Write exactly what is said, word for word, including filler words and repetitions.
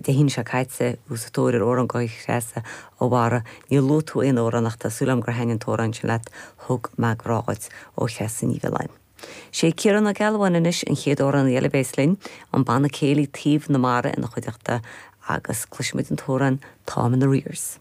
Dé hAoine seo caite sa tóir ar amhrán do Threasa a Mhara níor luaigh tú aon amhrán ach tá súil agam gur thaitin an t-amhrán sin leat thug mé grá duit ó Threasa Ní Mhiolláin. Sé Ciarán Ó Gealbháin anois an chéad amhránaí eile a bheas linn an banna céilí Taobh na Mara ina chuideachta agus cloisfimid an t-amhrán Táim in Arrears.